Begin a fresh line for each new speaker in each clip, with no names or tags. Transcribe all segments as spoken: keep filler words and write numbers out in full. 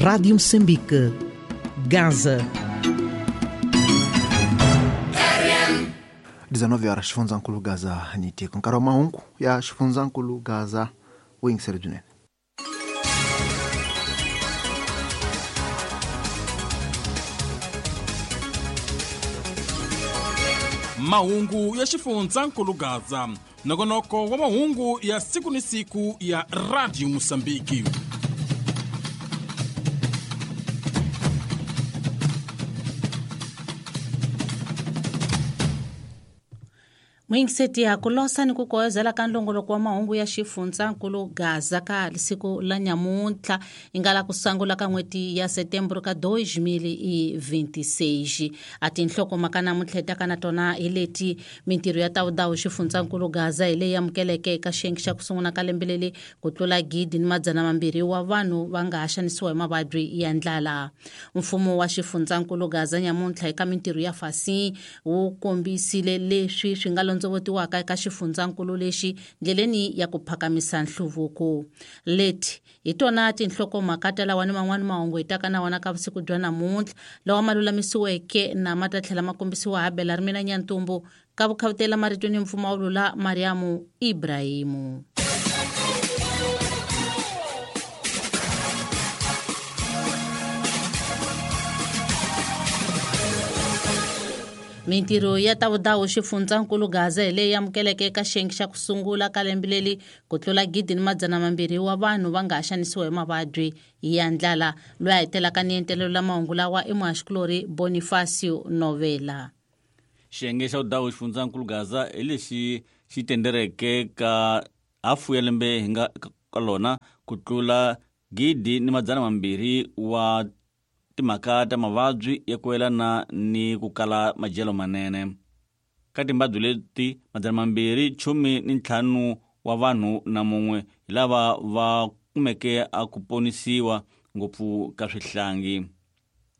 Rádio Moçambique, Gaza.
dezenove horas, xifundzhankulu Gaza ni tiko. Nkarhi wa mahungu ya xifundzhankulu Gaza wu yingisele byinene.
Mahungu ya xifundzhankulu Gaza, nongonoko wa mahungu ya siku ni siku ya Radio Mozambique.
Mwingiseti ya kulosa ni kukoyozela ka nlongoloko wa mahungu ya xifundzhankulu Gaza ka siku la nyamuntlha ingala kusangula ka n'hweti ya Setembro ka dois mil e vinte e seis. A tinhlokomhaka namuntlha hi taka na tona hi leti: mintirho ya tawudawu xifundzhankulu Gaza hi leyi amukeleke eka xiyenge xa ku sungula ka lembe leri ku tlula gidi ni madzana mambirhi wa vanhu va nga ha xanisiwa hi mavabyi ya ndlala. Mfumo wa xifundzhankulu Gaza nyamuntlha eka mintirho ya fasi wu kombisile leswi swi nga londzovutiwaka eka xifundzhankulu lexi ndleleni ya ku phakamisa nhluvuko. Leti hi tona tinhlokomhaka ta lawa ni man'wani mahungu hi taka na wona ka vusiku bya namuntlha lawa ma lulamisiweke na ma ta tlhela ma kombisiwa ha Bela Rimina Nyantumbu ka vukhavutela marito ni mpfumawulo la Mariamu Ibrahimu. Mintirho ya tavudawu xifundzhankulu Gaza hi leyi amukeleke eka xiyenge xa ku sungula ka lembe leri ku tlula gidi ni madzana mambirhi wa vanhu va nga ha xanisiwa hi mavabyi ya ndlala. Loyi a hetelaka ni entelelo la mahungu lawa i muhaxikulori Bonifacio Novela.
Xiyenge xa vudawu xifundzhankulu Gaza hi lexi xi tendereke ka hafu ya lembe hi nga ka lona ku tlula gidi ni madzana mambirhi wa timhaka ta mavabyi ya ku yelana ni ku kala madyelo manene. Ka timbabyi leti madzana mambirhi chumi ni ntlhanu wa vanhu na mun'we hi lava va kumeke a ku ponisiwa ngopfu ka swihlangi.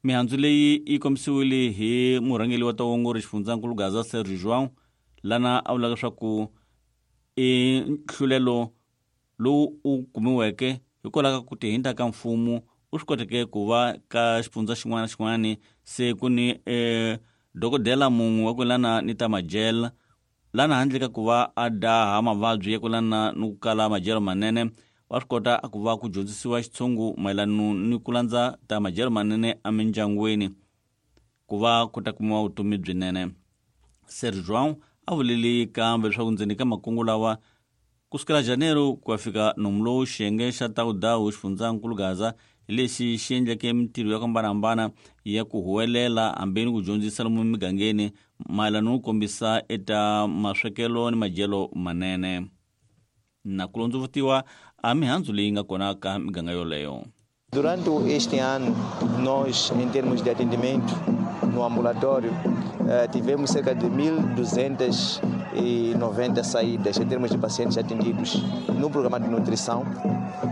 Mihandzu leyi yi kombisiwile hi murhangeri wa tawongori xifundzhankulu Gaza Sergio João, lana a vulaka leswaku i nhlulelo lowu u kumiweke hikwalaho ka ku tihinta ka mfumo u swi koteke ku va ka xifundza xin'wana na xin'wana se ku ni eh, dokodela mun'we wa ku yelana ni ta madyelo lana handle ka ku va a daha mavabyi ya ku yelana ni ku kala madyelo manene wa swi kota ku va ku dyondzisiwa xitshungu mayelana ni ku landza ta madyelo manene emindyangwini ku va ku ta kumiwa vutomi byinene. Sergio João a vulile kambe leswaku ndzeni ka makungu lawa kusukela Janeiro ku ya fika nomu xiyenge xa tawudawu xifundzhankulu Gaza lexi xi endleke mintirho ya ku hambanahambana ya ku huwelela hambi ni ku dyondzisa lomu migangeni mayelana no kombisa eta maswekelo ni madyelo manene na ku londzovutiwa a mihandzu leyi nga kona ka miganga yoleyo.
Durante este ano, nós, em termos de atendimento no ambulatório, tivemos cerca de mil duzentas e noventa saídas em termos de pacientes atendidos no programa de nutrição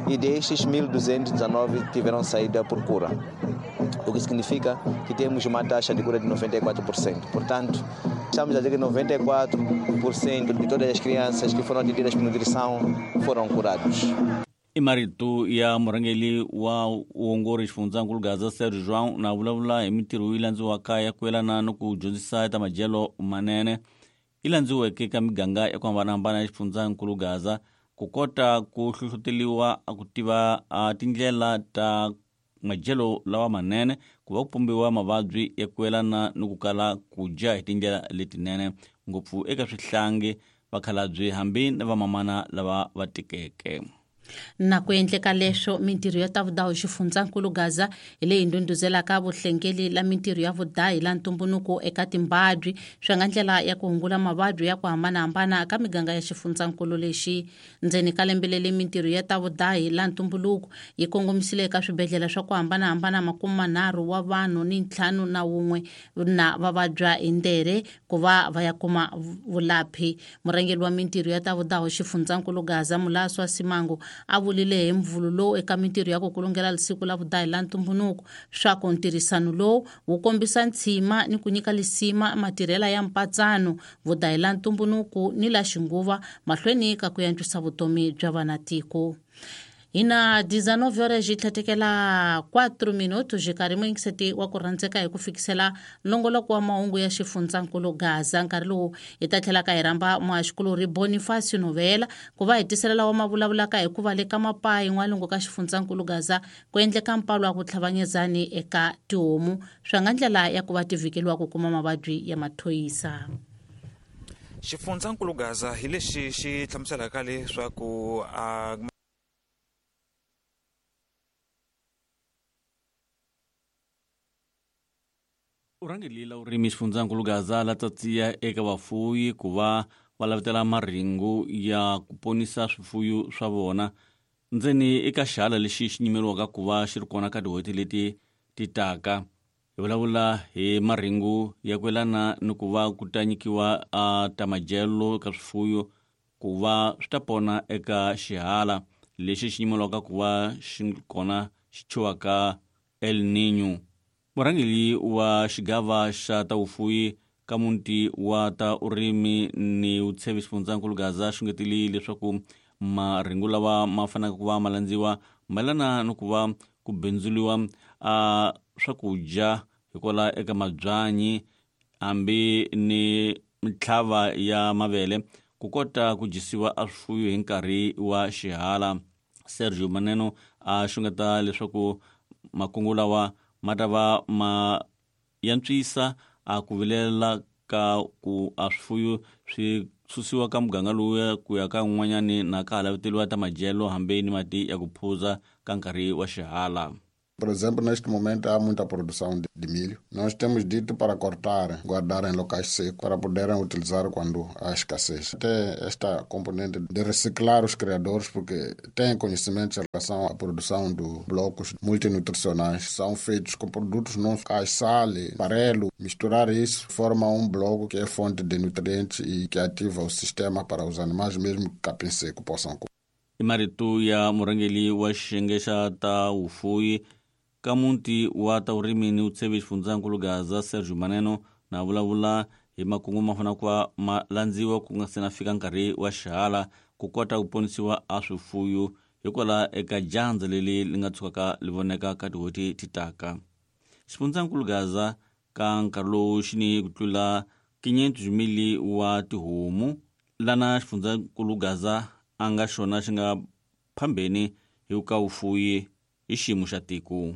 e destes mil duzentos e dezenove tiveram saída por cura, o que significa que temos uma taxa de cura de noventa e quatro por cento. Portanto, estamos a dizer que noventa e quatro por cento de todas as crianças que foram atendidas por nutrição foram curados.
I marito ya murhangeri wa vuongori xifundzhankulu Gaza Sergio João na vulavula hi mintirho yi landziwaka ya ku yelana ni ku dyondzisa ta madyelo manene yi landziweke ka miganga ya ku hambanahambana ya xifundzhankulu Gaza ku kota ku hlohloteriwa ku tiva tindlela ta madyelo lawa manene ku va ku pumbiwa mavabyi ya ku yelana ni ku kala ku dya hi tindlela letinene ngopfu eka swihlangi, vakhalabye hambi na vamamana lava va tikeke.
Na ku endleka leswo mintirho ya tavudawu xifundzhankulu Gaza hi leyi ndhundhuzelaka vuhlengeli la mintirho ya vudahi la ntumbuluko eka timbabyi swi nga ndlela ya ku hungula mavabyi ya ku hambanahambana ka miganga ya xifundzhankulu lexi. Ndzeni ka lembe leri mintirho ya tavudahi la ntumbuluko yi kongomisile eka swibedhlele swa ku hambanahambana makume manharhu wa vanhu ni ntlhanu na wun'we na va vabya hi ndere ku va va ya kuma vulaphi. Murhangeri wa mintirho ya tavudahi xifundzhankulu Gaza Mulaswa Simango a vulile hi mvulu lowu eka mintirho ya ku kulungela lisiku la vudahi la ntumbuluko swa ku ntirhisano lowu wu kombisa ntshima ni ku nyika lisima matirhela ya mpatsano vudahi la ntumbuluko ni la xinguva mahlweni ka ku antswisa vutomi bya vanatiko. Hina dezenove horas tlhatekela quatro minutos nkarhi muyingiseti wa ku rhandzeka hi ku fikisela nongoloko wa mahungu ya xifundzankulu Gaza. Nkarhi lowu hi ta tlhela ka hi rhamba muhaxikulorhi Bonifacio Novela ku va hi tisela lawa ma vulavulaka hi ku va le ka mapayi n'walungu ka xifundzankulu Gaza ku endleka mpalo wa ku tlhavanyezani eka tihomu swa nga ndlela ya ku va ti vhikeliwa ku kuma mavabyi ya mathoyisa.
Xifundzankulu Gaza hi lexi xi hlamuselaka leswaku a
Urhangelila urimi xifundzankulu Gaza la tsatsiya eka vafuwi ku va va lavetela marhengu ya ku ponisa swifuyo swa vona ndzeni eka xihala lexi xi nyimeriwaka ku va xi ri kona ka tin'hweti leti ti taka. Hi vulavula hi marhengu ya ku yelana ni ku va ku ta nyikiwa a ta madyelo ka swifuyo ku va swi ta pona eka xihala lexi xi nyimeriwaka ku va xi kona xi thyiwaka El Niño. Murhangeri wa xigava xa ta vufuwi ka muti wa ta urimi ni vutshevi xifundzankulu Gaza xungetile leswaku marhengu lawa ma faneleke ku va ma landziwa mayelana ni ku va ku bindzuliwa a swakudya hikwalaho eka mabyanyi hambi ni mitlhava ya mavele ku kota ku dyisiwa a swifuyo hi nkarhi wa xihala. Sergio Maneno a xungeta leswaku makungu lawa ma ta va ma yantswisa a ku vilela ka ku a swifuyo swi susiwa ka muganga lowuya ku ya ka un'wanyani na ka ha laveteliwa ta madyelo hambi ni mati ya ku phuza ka nkarhi wa xihala.
Por exemplo, neste momento há muita produção de milho. Nós temos dito para cortar, guardar em locais secos, para poderem utilizar quando há escassez. Até esta componente de reciclar os criadores, porque têm conhecimentos em relação à produção de blocos multinutricionais. São feitos com produtos não locais, sal, farelo. Misturar isso forma um bloco que é fonte de nutrientes e que ativa o sistema para os animais, mesmo que capim seco, possam comer.
I marito ya murhangeri wa xiyenge xa ta vufuwi ka muti wa ta vurimi ni vutshevi xifundzankulu Gaza Sergio Maneno na vulavula hi makungu ma fanele ku va ma landziwa ku nga se na fika nkarhi wa xihala ku kota ku ponisiwa a swifuyo hikwalaho eka dyandza leri li nga tshukaka li voneka ka tin'hweti ti taka. Xifundzankulu Gaza ka nkarhi lowu xi ni ku tlula quinhentos mil wa tihomu lana xifundzankulu Gaza a nga xona xi nga phambeni hi ka vufuwi hi xiyimo xa tiko.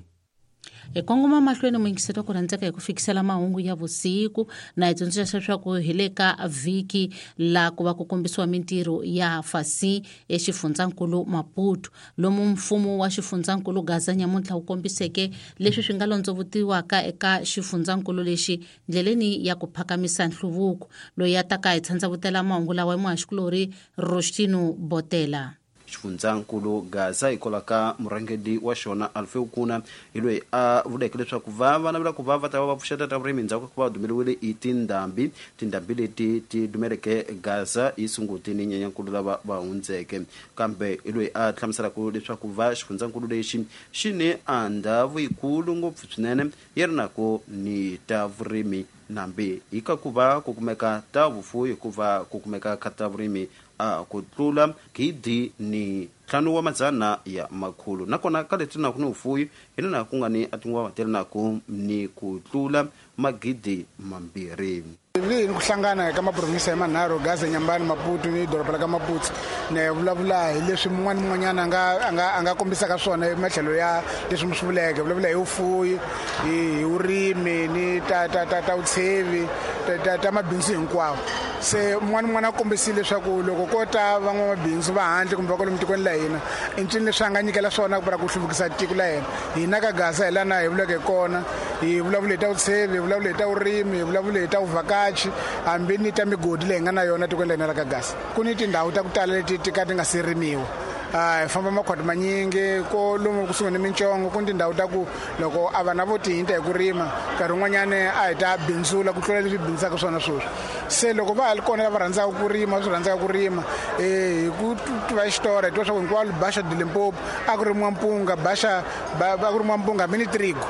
Hi kongoma mahlweni muyingiseri ku rhandzeka hi ku fikisela mahungu ya vusiku na hi tsundzuxa leswaku hi le ka vhiki la ku va ku kombisiwa mintirho ya fasi exifundzankulu Maputo lomu mfumo wa xifundzankulu Gaza nyamuntlha wu kombiseke leswi swi nga londzovutiwaka eka xifundzankulu lexi ndleleni ya ku phakamisa nhluvuko. Loyi a taka hi tshandzavutela mahungu lawa i muhaxikulorhi Rostino Botela.
Xifundzankulu Gaza hikwalaho ka murhangeri wa xona Alfeu Kuna hi loyi a vuleke leswaku va va navela ku va va ta va va pfuxeta ta vurimi endzhaku ka ku va dumeriwile hi tindhambi tindhambi leti ti dumeleke Gaza hi Sunguti ni Nyenyankulu lava va hundzeke. Kambe hi loyi a hlamuselaka leswaku va xifundzankulu lexi xi ni a ndhawu yikulu ngopfu swinene yi ri nako ni ta vurimi nambi hi ka ku va ku kumeka ta vufuwi hikuva ku kumeka ka ta vurimi a ku tlula gidi ni ntlhanu wa madzana ya makhulu nakona ka leti naku ni vufuwi hi lena ku nga ni a tinguva ti ri naku ni ku tlula magidi mambirhi.
Leyi ni ku hlangana ka maprovinsi ya manharhu Gaza, Nyambani, Maputo ni doroba la ka Maputo ni vulavula hi leswi mun'wana ni mun'wanyana a nga a nga a nga kombisaka swona hi matlhelo ya leswi mi swi vuleke. Vulavula hi vufuwi, hi vurimi ni ta ta ta ta vutshevi ta ta ta mabindzu hinkwawo. Se mun'wana ni mun'wana a kombisile leswaku loko ko ta van'wamabindzu va handle kumbe va kwalomu tikweni la hina i ncini leswi a nga nyikela swona ku ku hluvukisa tiko la hina. Hina ka Gaza hi lana hi vuleke kona, hi vulavule hi ta vutshevi, hi vulavule hi ta vurimi, hi vulavule hi ta vuvhakachi hambi ni ta migodi leyi nga na yona tikweni la hina ra ka Gaza. Ku ni tindhawu ta ku tala leti ti ka ti nga se rimiwa. Hi famba makhwati manyingi ko lomu kusuhi ni mintsongo ku ni tindhawu ta ku loko a vana vo tihinta hi ku rima nkarhi wun'wanyani a hi ta bindzula ku tlula leswi bindzaka swona sweswi. Se loko va ha ri kona lava rhandzaka ku rima swi rhandzaka ku rima hi ku tiva xitori hi tiva swa ku hinkwalo Baxa de Limpopo a ku rimiwa mpunga Baxa a ku rimiwa mpunga hambi ni trigo.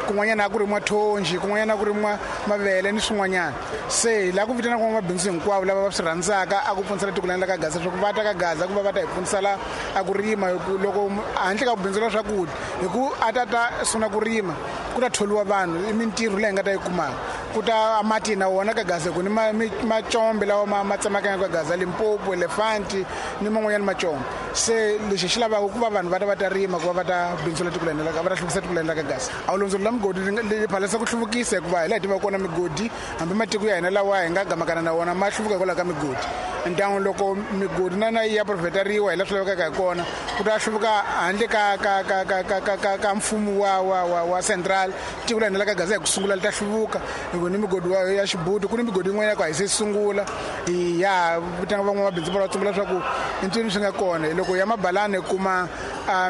Kun'wanyana a ku rimiwa thonji, kun'wanyana a ku rimiwa mavele ni swin'wanyana. Se hi lava ku vitana van'wamabindzu hinkwavo lava va swi rhandzaka a ku pfunisela tiko la ka Gaza leswaku va ta ka Gaza ku va va ta hi pfunisela a ku rima. Loko handle ka ku bindzula swakudya, hi ku a ta ta sungula ku rima ku ta tholiwa vanhu, i mintirho leyi hi nga ta yi kumaka. Ku ta mati na wona ka Gaza ku ni macombe lawa ma ma tsemakanya ka Gaza, Limpopo, Elefanti ni man'wanyana macombe. Se lexi xi lavaka ku va vanhu va ta va ta rima ku va va ta bindzula tiko la hina, va ta hluvukisa tiko la hina ka Gaza. A wu londzolo la migodi li phalasa ku hluvukisa hikuva hi laha hi tivaka kona migodi, hambi matiko ya hina lawa hi nga gamakana na wona ma hluvuka hikwalaho ka migodi. Ndyangu loko migodi na na ya profeteriwa hi laha swi lavekaka hi kona, ku ta hluvuka handle ka ka ka ka ka ka ka ka mfumo wa wa wa wa central. Tiko la hina la ka Gaza hi ku sungula li ta hluvuka hi ku ni migodi ya Xibuti, ku ni migodi yin'wana ya ku a hi se sungula. Hi ya vitana van'wamabindzu va tsumbula leswaku i ncini swi nga kona. Loko ya Mabalani kuma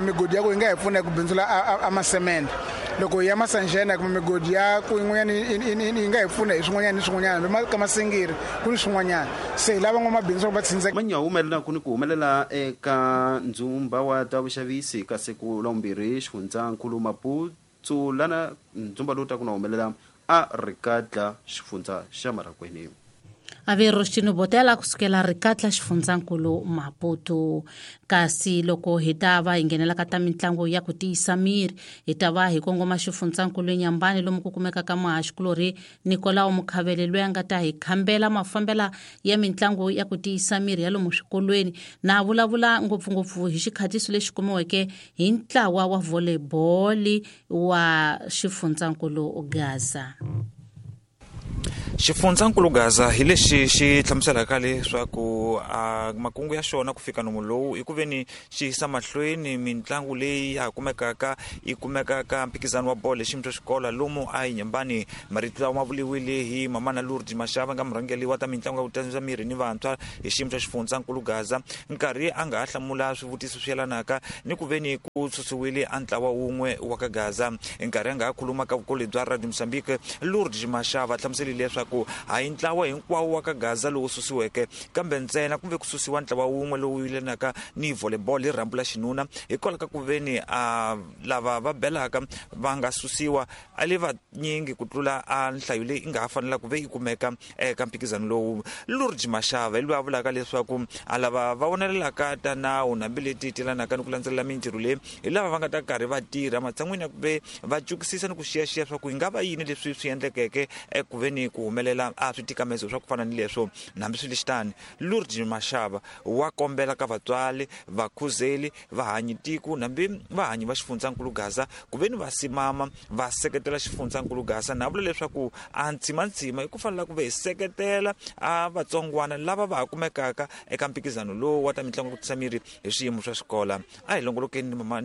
migodi ya ku yi nga hi pfuna ku bindzula a masemende. Loko ya Masanjena kuma migodi ya ku yin'wanyana yi nga hi pfuna hi swin'wanyana ni swin'wanyana, hambi ka Masingiri ku ni swin'wanyana. Se hi lava van'wamabindzu va tshindzeka.
Manya humelela ku ni ku humelela eka ndzumba wa ta vuxavisi ka siku la vumbirhi xifundzankulu Maputo lana ndzumba lowu ta ku na humelela a Rikatla xifundza xa Maragweni.
Avero Xino Botela kusukela Rikatla xifundzankulu Maputo. Kasi loko hi ta va hi nghenela ka ta mitlangu ya ku tiyisa miri, hi ta va hi kongoma xifundzankulu Nyambani lomu ku kumeka ka muhaxikulorhi Nikolao Mukhavele loyi a nga ta hi khambela mafambela ya mitlangu ya ku tiyisa miri ya lomu swikolweni, na vulavula ngopfungopfu hi xikhatiso lexi kumiweke hi ntlawa wa volleyball wa xifundzankulu Gaza.
Xifundzankulu Gaza hi lexi xi hlamuselaka leswaku a makungu ya xona ku fika nomu lowu i ku veni xi yisa mahlweni mitlangu leyi ya ha kumekaka yi kumekaka mphikizano wa bolo hi xiyimo xa xikolo lomu a hi Nyambani. Marito lawa ma vuriwile hi Mamana Lourdes Mashava nga murhangeri wa ta mitlangu ya ku tiyisa miri ni vantshwa hi xiyimo xa xifundzankulu Gaza, nkarhi a nga ha hlamula swivutiso swi yelanaka ni ku veni ku susiwile a ntlawa wun'we wa ka Gaza. Nkarhi a nga ha khuluma ka vukolo bya Radio Mozambique, Lourdes Mashava hlamuserile leswaku hayi ntlawa hinkwawo wa ka Gaza lowu susiweke, kambe ntsena kumbe ku susiwa ntlawa wun'we lowu yelanaka ni volleyball hi rhambu la xinuna hikwalaho ka ku veni a lava va belaka va nga susiwa a le vanyingi ku tlula a nhlayo leyi nga ha fanela ku ve yi kumeka eka mphikizano lowu. Lourdes Mashava hi loyi a vulaka leswaku a lava va vonelelaka ta nawu hambi leti telanaka ni ku landzelela mintirho leyi hi lava va nga ta karhi va tirha matshan'wini ya ku ve va cukisisa ni ku xiyaxiya swa ku yi nga va yini leswi swi endlekeke eku veni ku humelela a switikamezo swa ku fana ni leswo. Hambi swi lexitani, Lourdes Mashava wa kombela ka vatswari, vakhuzeli, vahanyi tiko hambi vahanyi va xifundzankulu Gaza ku veni va simama va seketela xifundzankulu Gaza, na vula leswaku a ntsimantsima i ku fanela ku ve hi seketela a vatsongwana lava va ha kumekaka eka mphikizano lowu wa ta mitlangu ya ku tisa miri hi swiyimo swa xikolo. A hi longolokeni mama,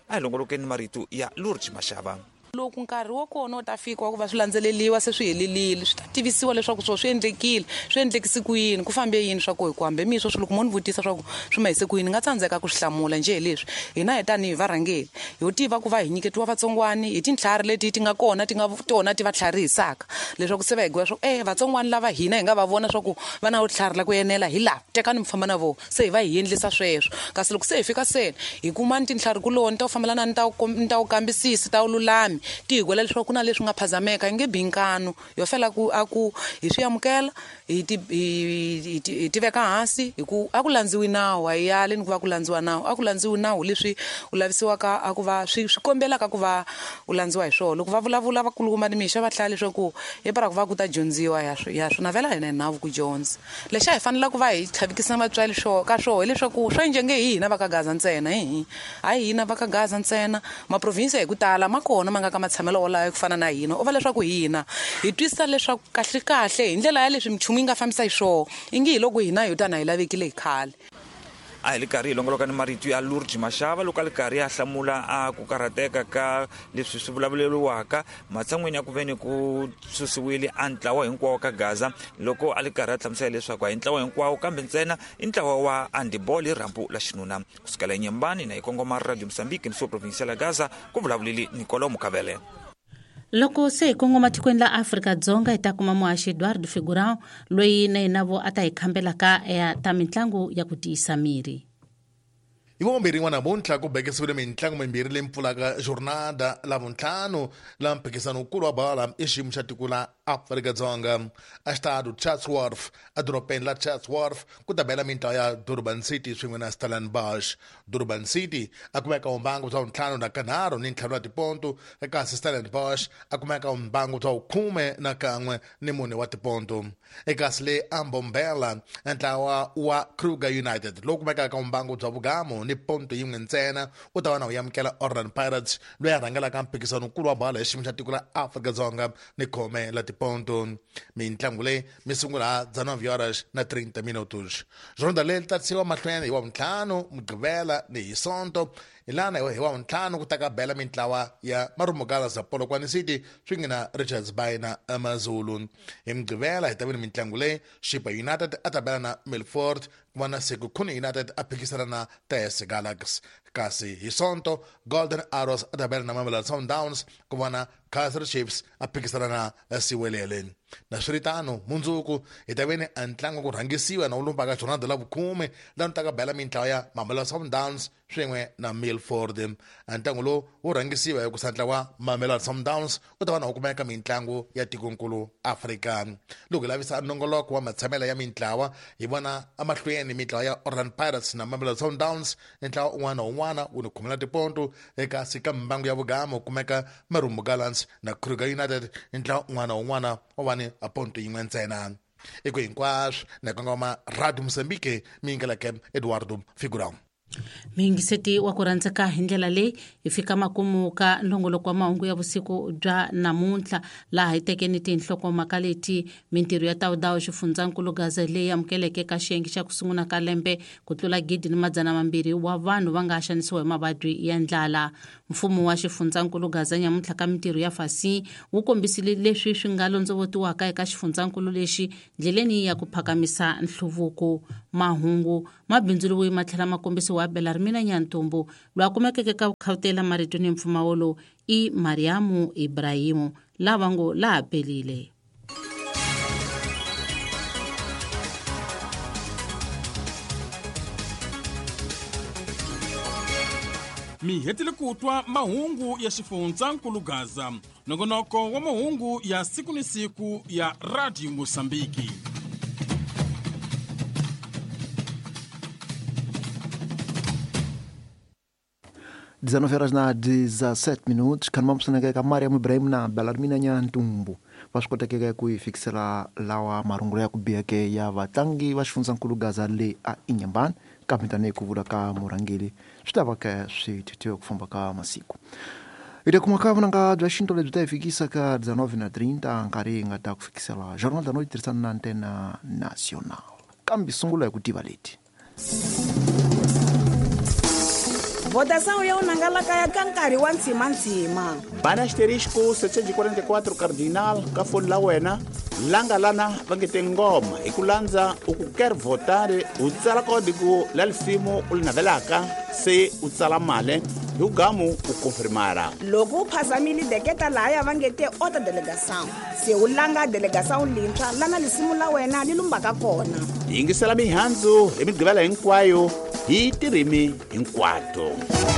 a hi longolokeni marito ya Lourdes Mashava.
Loko nkarhi wa kona wu ta fika wa ku va swi landzeleriwa se swi helelile, swi ta tivisiwa leswaku swo swi endlekile, swi endlekise ku yini, ku fambe yini swa ku hi ku hambe miswo swi loko mo ni vutisa swa ku swi ma hise ku yini, nga tsandzeka ku swi hlamula njhe hi leswi. Hina hi tanihi varhangeri ho tiva ku va hi nyiketiwa vatsongwani hi tintlhari leti ti nga kona ti nga tona ti va tlharihisaka leswaku se va hi gwiwa swa ku eh vatsongwani lava hina hi nga va vona swa ku va na vutlhari la ku enela hi lava tekani mi famba na vona, se hi va hi endlisa sweswo. Kasi loko se hi fika seni hi kuma ni tintlhari kuloni ta ku fambelana ni ta ni ta ku kambisisa ta vululami ti hi gwela leswaku ku na leswi nga phazameka, yi nge bi nkanu yo fela ku a ku hi swi amukela hi ti hi hi ti veka hansi hi ku a ku landziwi nawu, a hi yali ni ku va ku landziwa nawu, a ku landziwi nawu leswi u lavisiwaka a ku va swi swi kombelaka ku va u landziwa hi swona. Loko va vulavula vakulukumba ni mixa va hlaya leswaku hi para ku va ku ta dyondziwa ya swi ya swi navela hina hi nawu ku dyondza. Lexi a hi fanela ku va hi tlhavikisa vatswari swo ka swo hileswaku swa njhenge hi hina va ka Gaza ntsena, hi hayi hina va ka Gaza ntsena, maprovinsi hi ku tala ma kona ma nga ka matshamelo wolawo ku fana na hina. U va leswaku hina hi twisisa leswaku kahle kahle hi ndlela ya leswi minchumu yi nga fambisa hi swona, ingi hi loko hina hi tana hi lavekile hi khale.
A hi le karhi hi longoloka ni marito ya Lourdes Mashava loko a le karhi a hlamula a ku karhateka ka leswi swi vulavuleriwaka matshan'wini ya ku veni ku susiwile a ntlawa hinkwawo ka Gaza, loko a le karhi a hlamusela leswaku a hi ntlawa hinkwawo kambe ntsena i ntlawa wa handball hi rhambu la xinuna. Kusukela eNyembani na hi kongoma Radio Mozambique ni province ya Gaza, ku vulavulile Nicolau Mukavele.
Loko se hi kongoma tikweni la Afrika-Dzonga hi ta kuma muhaxi Eduardo Figurão loyi na yena vo a ta hi khambelaka ya ta mitlangu ya ku tiyisa miri.
Hi vombirhi n'wana namuntlha ku bekisiwile mitlangu mimbirhi leyi pfulaka jornada lavuntlhanu la mphikizano wukulu wa bola i xiyimo xa tiko la Afrika-Dzonga. Exitado Chatsworth edorobeni la Chatsworth ku ta bela mintlawa ya Durban City swin'we na Stellenbosch. Durban City a kumeka mbangu bya ntlhanu na kanharhu ni ntlhanu wa tiponto, kasi Stellenbosch a kumeka mbangu bya khume na kan'we ni mune wa tiponto. Ekasi le Ambombela ntlawa wa Kruger United lowu kumekaka mbangu bya vugamu ni ponto yin'we ntsena u ta va na u amukela Orlando Pirates loyi a rhangelaka mphikizano wukulu wa bola hi xiyimo xa tiko la Afrika-Dzonga ni khome la tiponto. Mintlangu leyi mi sungula dezenove horas na trinta minutos. Jornada leyi ta tisiwa mahlweni hi wa ntlhanu Mugqivela ni hi Sonto. Hi lana hi wa ntlhanu ku ta ka bela mintlawa ya Marumo Gallants ya Polokwane City swin'we na Richards Bay na AmaZulu. Hi Mugqivela hi ta vona mintlangu leyi Chippa United a ta bela na Milford, ku va na Sekhukhune United a phikisana na T S Galaxy. Kasi hi Sonto Golden Arrows a ta bela na Mamelodi Sundowns, ku va na Kaizer Chiefs a phikisana na Siwelele. Na swiritano mundzuku hi ta veni a ntlangu ku rhangisiwa na wu lumbaka jornada la vukhume laha ta ka bela mintlawa ya Mamelodi Sundowns swin'we na Milford. A ntlangu lowu wu rhangisiwa hi ku sa ntlawa Mamelodi Sundowns u ta va na wu kumeka mintlangu ya tikonkulu Afrika. Loko hi lavisa nongoloko wa matshamelo ya mintlawa hi vona emahlweni mintlawa ya Orlando Pirates na Mamelodi Sundowns, ntlawa un'wana na un'wana wu ni khumela tiponto. Eka sika mbangu ya vugamo kumeka Marumo Gallants na Kruger United, ntlawa un'wana na un'wana wa va ni a ponto yin'we ntsena. Eko hinkwaswo na kongoma Radio Mozambique mi yingeleke Eduardo Figurão.
Miyingiseti wa ku rhandzeka hi ndlela leyi hi fika makumu ka nongoloko wa mahungu ya vusiku bya namuntlha, laha hi tekeni tinhlokomhaka leti: mintirho ya tawudawu xifundzankulu Gaza leyi amukeleke ka xiyenge xa ku sungula ka lembe ku tlula gidi ni madzana mambirhi wa vanhu va nga xanisiwa hi mavabyi ya ndlala. Mfumo wa xifundzankulu Gaza nyamuntlha ka mintirho ya fasi wu kombisile leswi swi nga londzovotiwaka eka xifundzankulu lexi ndleleni ya ku phakamisa nhluvuko. Mahungu mabindzu ma tlhela ma kombisiwa Belarmina Nyantumbu loyi a kumekeke ka khawutela marito ni mpfumawulo i Mariamu Ibrahimu lava ngo laha pelile.
Mi hetile ku twa mahungu ya xifundzankulu Gaza, nongonoko wa mahungu ya siku ni siku ya Radio Mozambique.
dezenove horas na dezessete minutos, kanmamsoneke ka Mariam Ibrahim na Belarmina Nyantumbu va swi kotekeke ku yi fikisela lawa marungulo ya ku biheke ya vatlangi va xifundzankulu Gaza le a Inhambane, kambe tanihi ku vula ka murhangeri swi ta va ke swi thithiwe ku famba ka masiku. Hi ta kuma ka vunanga bya xinto lebyi ta hi fikisa ka dezenove na trinta nkarhi hi nga ta ku fikisela Jornal da Noite tirhisana na Antena Nacional, kambe sungula hi ku tiva leti.
Votação ya unangalaka ya ka nkarhi wa ntsimantsima.
Bana asterisco setecentos e quarenta e quatro cardinal ka foni la wena langa lana va nge te ngoma hi ku landza u ku quer votar u tsala código la lisimu u li navelaka se u tsala mali hi ugamu u confirmara.
Loko u phazamile deketa lahaya va nge te ota delegação se u langa delegação lintshwa lana lisimu la wena li lumbaka kona.
Yingisela mihandzu hi migqivela hinkwayo hi tirimi hinkwato.